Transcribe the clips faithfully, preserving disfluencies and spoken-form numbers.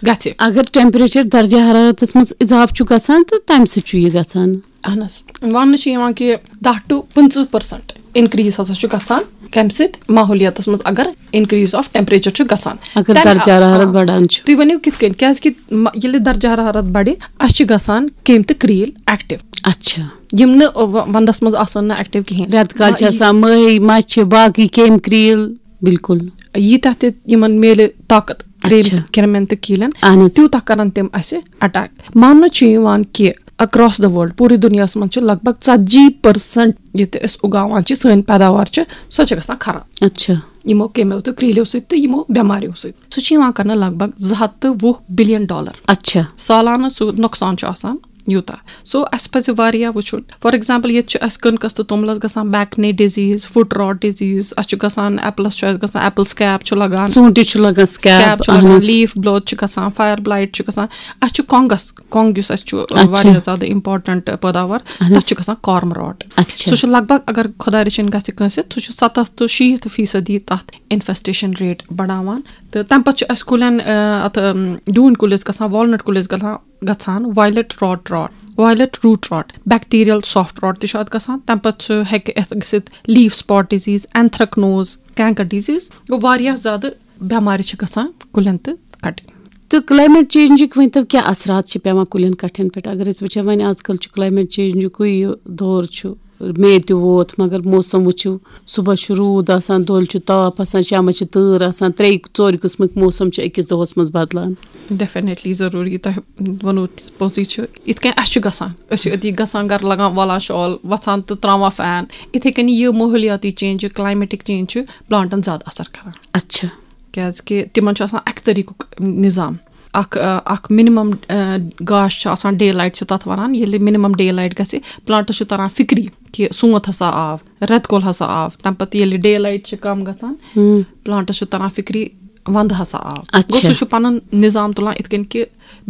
گژھِ۔ اگر ٹیمپریچر درجہ حرارتس منٛز اضافہٕ چھُ گژھان تہٕ تمہِ سۭتۍ چھُ یہِ گژھان۔ اہن حظ، وننہٕ چھُ یِوان کہِ دَہ to پٕنٛژٕہ percent increase ہسا چھُ گژھان۔ کمہِ سۭتۍ؟ ماحولیاتس منٛز اگر increase of temperature چھُ گژھان۔ اگر تَمہِ درجہ حرارت آ، بڑان چھُ۔ تُہۍ ؤنِو کِتھ کٔنۍ؟ کیازِ کہِ م- ییٚلہِ درجہ حرارت بڑِ، اسہِ چھِ گژھان کیٚمۍ تہٕ کرٛیٖلۍ ایکٹیو۔ اچھا۔ یِم نہٕ و- ونٛدس منٛز آسان نہٕ ایکٹیو کِہینۍ۔ رٮ۪تہٕ کالہِ چھِ آسان مٔہۍ، مَچھِ، باقٕے کیٚمۍ، کرٛیٖلۍ۔ بالکل۔ ییٖتیٛاہ تہِ یِمن میلہِ طاقت کرٛیٚمۍ اچھا۔ تہٕ کرٛمٮ۪ن تہٕ کیٖلٮ۪ن، اہن حظ۔ تیوٗتاہ کرن تِم اسہِ اٹیک۔ ماننہٕ چھُ یِوان کہِ across the world، پوٗرٕ دُنیاہس منٛز چھِ لگ بگ ژتجی percent یہِ تہِ أسۍ اُگاوان چھِ، سٲنۍ پیداوار چھِ، سۄ چھِ گژھان خراب اچھا۔ یِمو کیٚمیو تہٕ کرٛیٖلٮ۪و سۭتۍ تہٕ یِمو بٮ۪ماریو سۭتۍ۔ سُہ چھُ یِوان کرنہٕ لگ بگ زٕ ہتھ تہٕ وُہ billion dollar۔ اچھا۔ سالانہٕ سُہ نۄقصان چھُ آسان یوٗتاہ۔ So، اسہِ پزِ واریاہ وٕچھُن۔ For example، ییٚتہِ چھُ اسہِ کٕنکس تہٕ توٚملس گژھان back knee disease، foot rot disease، اسہِ چھُ گژھان apples، چھُ اسہِ گژھان apple scab چھُ لگان، ژوٗنٛٹھِس چھُ لگان scab، scab چھُ اہن لگان، حظ۔ leaf bloat چھُ گژھان، fire blight چھُ گژھان۔ اسہِ چھُ کۄنٛگس، کۄنٛگ یُس اسہِ چھُ اچھا۔ واریاہ زیادٕ important پٲداوار، اہن حظ۔ تتھ چھُ گژھان cormorant۔ اچھا۔ سُہ چھُ لگ بگ، اگر خۄدا رٔچھِنۍ گژھِ کٲنٛسہِ، سُہ چھُ ستتھ to شیٖتھ فیٖصدی تتھ infestation rate بڑاوان۔ تہٕ تمہِ پتہٕ چھُ اسہِ کُلٮ۪ن، آ، اتھ، آم، ڈوٗنۍ کُلِس گژھان، walnut کُلِس گژھان، گژھان violet rot rot، violet root rot، bacterial soft rot تہِ چھُ اتھ گژھان۔ تمہِ پتہٕ چھُ، ہیٚکہِ اتھ گٔژھِتھ leaf spot disease، anthracnose، canker disease۔ گوٚو، واریاہ زیادٕ بٮ۪مارِ چھِ گژھان کُلٮ۪ن تہٕ کٹٮ۪ن۔ تہٕ climate changeٕکۍ ؤنۍ تو کیٛاہ اثرات چھِ پٮ۪وان کُلٮ۪ن کٹھٮ۪ن پٮ۪ٹھ؟ اگر أسۍ وٕچھو، وۄنۍ آز کل چھُ climate changeٕکُے یہِ دور چھُ، مے تہِ ووت، مگر موسم وٕچھِو، صُبحس چھُ روٗد آسان، دۄہلہِ چھُ تاپھ آسان، شامس چھِ تۭر آسان، ترٛیٚیہِ ژورِ قٕسمٕکۍ موسم چھِ أکِس دۄہس منٛز بدلان۔ Definitely، ضروٗری، تۄہہِ ووٚنوُ پوٚزُے چھُ۔ یِتھ کٔنۍ اَسہِ چھُ گژھان، أسۍ چھِ أتی گژھان، گرٕ لگان، والان شال، وۄتھان تہٕ تراوان fan۔ یِتھے کٔنۍ یہِ ماحولیاتی change چھُ، climatic change چھُ plantن زیادٕ اثر کران۔ اچھا۔ کیازِ کہِ تِمن چھُ آسان اکہِ طریٖقُک نظام۔ اکھ، آ، اکھ minimum، آ، گاش چھُ آسان، day light چھِ تَتھ وَنان۔ ییٚلہِ minimum day light گژھِ، plantس چھُ تَران فِکری کہِ سونٛتھ ہسا آو، رٮ۪تہٕ کول ہسا آو۔ تَمہِ پَتہٕ ییٚلہِ day light چھِ کَم گژھان، ہم۔ plantس چھُ تَران فِکری وَندٕ ہسا آو۔ اچھا۔ گوٚو، سُہ چھُ پَنُن نظام تُلان یِتھ کٔنۍ کہِ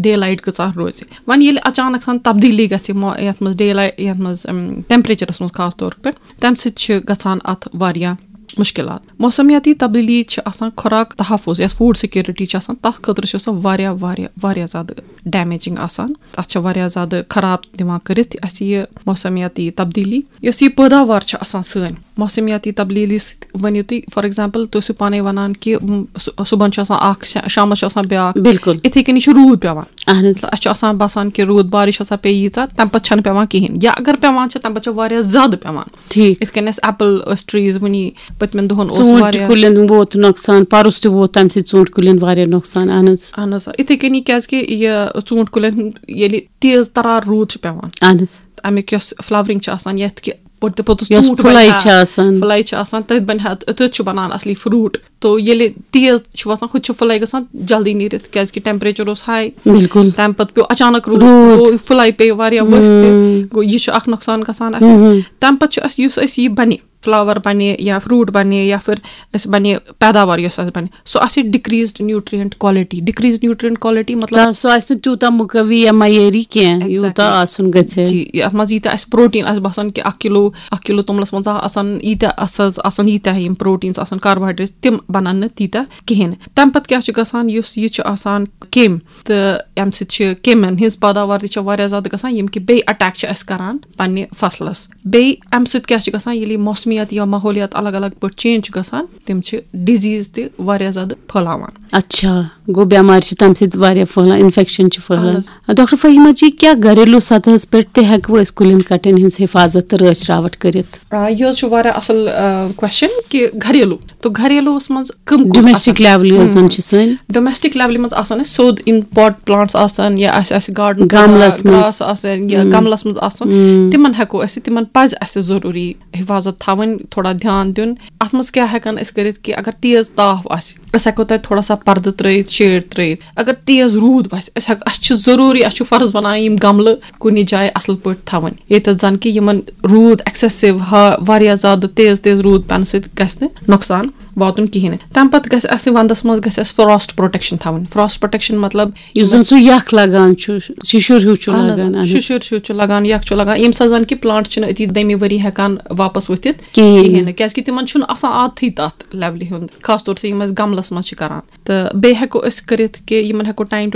day light کۭژاہ روزِ۔ وۄنۍ ییٚلہِ اچانک سان تبدیٖلی گژھِ مو-، یَتھ منٛز day light، یَتھ منٛز، اَم، temperatureس منٛز خاص طور پٮ۪ٹھ، تَمہِ سۭتۍ چھِ گژھان اَتھ واریاہ مُشکِلات۔ موسمیاتی تبدیٖلی چھِ آسان خوراک تحفظ، یَتھ food security چھِ آسان، تَتھ خٲطرٕ چھِ سۄ واریاہ، واریاہ، واریاہ زیادٕ damaging آسان۔ تَتھ چھِ واریاہ زیادٕ خراب دِوان کٔرِتھ اَسہِ یہِ موسمیاتی تبدیٖلی۔ یۄس یہِ پٲداوار چھِ آسان سٲنۍ، موسمیاتی تبدیٖلی سۭتۍ ؤنِو تُہۍ، for example، تُہۍ ٲسِو پانَے وَنان کہِ، م، صُ-، صُبحن چھُ آسان اَکھ، شا-، شامَس چھُ آسان بیٛاکھ۔ بِلکُل۔ یِتھَے کٔنی چھُ روٗد پٮ۪وان۔ اہن حظ۔ اَسہِ چھُ آسان باسان کہِ روٗد بارِش ہسا پیٚیہِ ییٖژاہ، تَمہِ پَتہٕ چھَنہٕ پٮ۪وان کِہیٖنۍ، یا اگر پٮ۪وان چھِ، تَمہِ پَتہٕ چھِ واریاہ زیادٕ پٮ۪وان۔ ٹھیٖک۔ یِتھ کٔنۍ اَسہِ apple ٲسۍ trees وٕنی پٔتمٮ۪ن دۄہَن اوس ژوٗنٛٹھۍ واریاہ۔ کُلٮ۪ن ووت نۄقصان، پَرُس تہِ ووت تَمہِ سۭتۍ ژوٗنٛٹھۍ کُلٮ۪ن واریاہ نۄقصان۔ اہن حظ۔ اہن حظ، یِتھَے کٔنی کیٛازِکہِ یہِ ژوٗنٛٹھۍ کُلٮ۪ن ہُنٛد ییٚلہِ تیز تَرار روٗد چھُ پٮ۪وان، اہن حظ۔ اَمیُک یۄس flowering چھِ آسان، یَتھ کہِ پوٚت-، پوٚتُس یۄس ژوٗنٛٹھ پھُلاے بَنہِ ہا، چھِ آسان۔ پھُلاے چھِ آسان، تٔتھۍ بَنہِ ہا، تٔتھۍ چھُ بَنان اَصلی fruit۔ تو ییٚلہِ تیز چھُ وَسان، ہُتہِ چھِ پھُلاے گژھان جلدی نیٖرِتھ، کیٛازِکہِ temperature اوس high۔ بِلکُل۔ تَمہِ پَتہٕ پیوٚو اچانک روٗد، روٗد۔ گوٚو پھُلاے پیٚیہِ واریاہ ؤسۍ تہِ۔ ہُم۔ گوٚو، یہِ چھُ اَکھ نۄقصان گژھان اَسہِ۔ ہُم۔ تَمہِ پَتہٕ چھُ اَسہِ، یُس اَسہِ یہِ بَنہِ، flower بَنہِ یا fruit بَنہِ یا پھر اَسہِ بَنہِ پیداوار یۄس اَسہِ بَنہِ، سُہ آسہِ decreased nutrient quality۔ Decreased nutrient quality مطلب، تہٕ سُہ آسہِ نہٕ تیوٗتاہ مُقوی یا معیٲری کینٛہہ، Exactly۔ یوٗتاہ آسُن گژھِ۔ جی، یَتھ منٛز ییٖتیٛاہ اَسہِ protein آسہِ باسان کہِ اَکھ کِلوٗ، اَکھ کِلوٗ توٚملَس منٛز آسان ییٖتیٛاہ اَسہِ حظ آسان ییٖتیٛاہ یِم proteins آسان، carbohydrates، تِم بَنَن نہٕ تیٖتیٛاہ کِہیٖنۍ۔ تَمہِ پَتہٕ کیٛاہ چھُ گژھان، یُس یہِ چھُ آسان کیٚمۍ، تہٕ اَمہِ سۭتۍ چھِ کیٚمٮ۪ن ہٕنٛز پٲداوار تہِ چھےٚ واریاہ زیادٕ گژھان، یِم کہِ بیٚیہِ attack چھِ اَسہِ کَران پنٛنہِ فصلَس۔ بیٚیہِ اَمہِ سۭتۍ کیٛاہ چھُ گژھان، ییٚلہِ یہِ موسمیات یا ماحولیات الگ الگ پٲٹھۍ change چھُ گژھان، تِم چھِ disease تہِ واریاہ زیادٕ پھٔہلاوان۔ اچھا، گوٚو بٮ۪مارِ چھِ تَمہِ سۭتۍ واریاہ پھٔہلان، infection چھِ پھٔہلان۔ اہن حظ۔ ڈاکٹر فہیمہ جی، کیٛاہ گھریلو سطحس پٮ۪ٹھ تہِ ہٮ۪کوٕ أسۍ کُلٮ۪ن کٹٮ۪ن ہٕنٛز حفاظت تہٕ رٲچھ راوَٹھ کٔرِتھ؟ آ، یہِ حظ چھُ واریاہ اَصٕل، آ، question کہِ گھریلو، تو گھریلوَس منٛز کٕم کُلۍ ڈومیسٹک آسان؟ لیولہِ یۄس زَن ہم۔ چھِ سٲنۍ۔ Domestic levelہِ منٛز آسان اَسہِ سیوٚد یِم pot plants آسان یا اَسہِ آسہِ garden گملَس منٛز۔ گرٛاس آسان یا ہم۔ گملَس منٛز آسان، ہم۔ تِمَن ہٮ۪کو أسۍ، تِمَن پَزِ اَسہِ ضروٗری حفاظت تھاوٕنۍ، تھوڑا دھیان دیُن۔ اَتھ منٛز کیٛاہ ہٮ۪کان أسۍ کٔرِتھ کہِ اگر تیز تاپھ آسہِ، أسۍ ہٮ۪کو تَتہِ تھوڑا سا پردٕ ترٲیِتھ، shade ترٲیِتھ۔ اگر تیز روٗد وَسہِ، أسۍ ہٮ۪ک-، اَسہِ چھِ ضروٗری، اَسہِ چھُ فرض بنان یِم گملہٕ کُنہِ جایہِ اَصٕل پٲٹھۍ تھاوٕنۍ، ییٚتٮ۪تھ زَن کہِ یِمَن روٗد excessive ہا-، واریاہ زیادٕ تیز تیز روٗد پٮ۪نہٕ سۭتۍ گژھِ نہٕ نۄقصان واتُن کِہیٖنۍ نہٕ۔ تَمہِ پَتہٕ گژھِ اَسہِ وَندَس منٛز گژھِ اَسہِ frost protection تھاوٕنۍ۔ Frost protection مطلب یُس زَن سُہ یَکھ لَگان چھُ، شِشُر ہیوٗ چھُ اہن حظ، لَگان، اہن حظ۔ شِشُر ہیوٗ چھُ لَگان، یَکھ چھُ لَگان، ییٚمہِ ساتہٕ زَن کہِ plant چھِنہٕ أتی دٔیمہِ ؤری ہٮ۪کان واپَس ؤتھِتھ کِہیٖنۍ۔ کِہیٖنۍ نہٕ، کیٛازِکہِ تِمَن چھُنہٕ آسان عادتھٕے تَتھ levelہِ ہُنٛد، خاص طور چھِ یِم أسۍ گملَس منٛز چھِ کَران۔ تہٕ بیٚیہِ ہٮ۪کو أسۍ کٔرِتھ کہِ یِمَن ہٮ۪کو time to